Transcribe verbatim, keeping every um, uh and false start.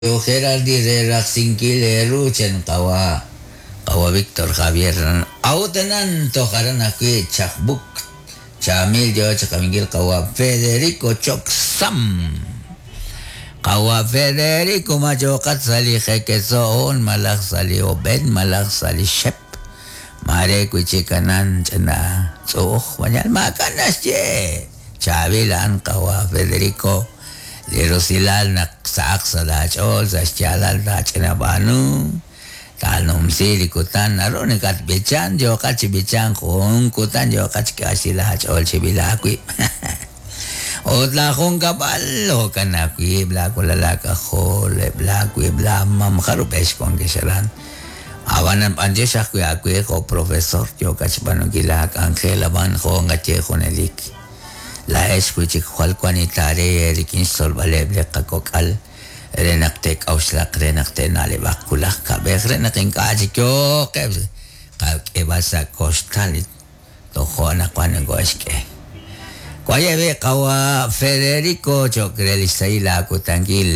Gerardi re rajsinkil eeru chan qawa' qawa' Víctor Javier a'ut anan toj aran ajwi' Chajbuk chaamil yo chaqabinkil qawa' Federico Choc Sam qawa' Federico machoqat sa' li jekeso'on malaj sa' li ob'en malaj sa' li xep mare wi' chik anan ch'ina tz'u'uj mañal maak'a' naxye chaab'il a'an qawa' Federico li rusilal naq sa'aq sa' laach'ool sa' xyaalal taach'ina b'aanu taanumsi li kutan naru nakatb'ichan yooqat chi b'ichank jun kutan yooqat xk'axil aach'ool chib'il aawib' ut laajunkab'al jo'kan aawib' laawalal aak'ajol eb' laawib' laamam jarub'ex wankex aran ab'anan b'anyox ajwi' aawe jo' profesor yookat xb'aanunkil laak'anjel ab'an jo' nqaye junelik laa'ex wi' chik jwal wan itaare rik'in xtzolb'aleb' li qakok'al re naq te'k'a'uxlaq re naq te'na'leb'aq wulaj kab'ej re naq ink'a' chik yooqeb' qak'eb'al sa' koxtal tojo' naq wan nakoxk'e wayeb' qawa' Federico cho'q re li xsahil aakutankil.